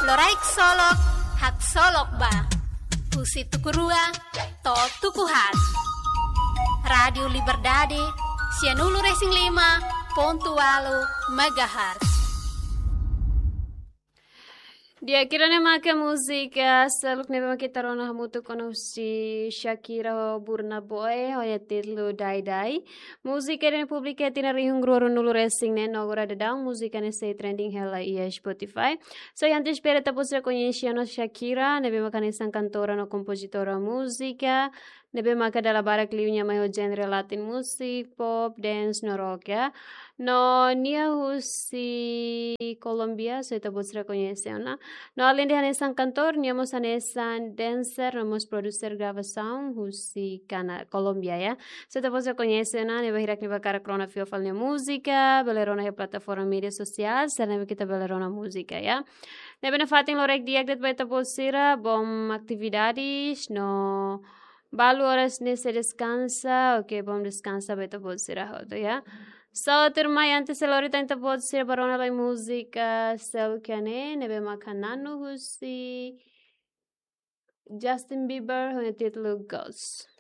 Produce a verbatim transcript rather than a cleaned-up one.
Loraik solok, haksolok ba. Husi tuku rua to'o tuku haat. Rádiu Liberdade, sianulu-resin-lima pontu ualu megahertz. Di'ak, ida-ne'e maka múzika seluk ne'ebé maka ita rona hamutuk ona husi Shakira ho Burna Boy, ho nia títulu Dai Dai. Múzika ne'e publika iha tinan rihun rua ruanulu-resin-neen, no agora daudaun múzika ne'e sei trending hela iha Spotify. So, antes, espera ita-boot sira koñese ona Shakira, ne'ebé maka hanesan kantora no kompozitora múzika, ne'ebé maka dala barak liu nia mai ho genre Latin music, pop, dance no rock, ya. No nia husi Kolómbia, so ita-boot sira koñese ona. No alende hanesan kantora, nia mós hanesan dancer, no mós producer gravasaun husi Kana-, Kolómbia, ya. So ita-boot sira koñese ona, ne'ebé hirak ne'ebé hakarak rona fio fali nia múzika, bele rona iha plataforma média sosiál, sira ne'ebé ita bele rona múzika, ya. Ne'ebé nafatin loraik di'ak de'it ba ita-boot sira, bom atividades, no balu oras ne'e sei deskansa, oke, bom deskansa ba ita-boot sira hotu, ya. So, tuirmai, antes de lori tan ita-boot sira ba rona lai múzika seluk ne'e, ne'ebé maka na'an husi Justin Bieber, ho nia títulu Ghost.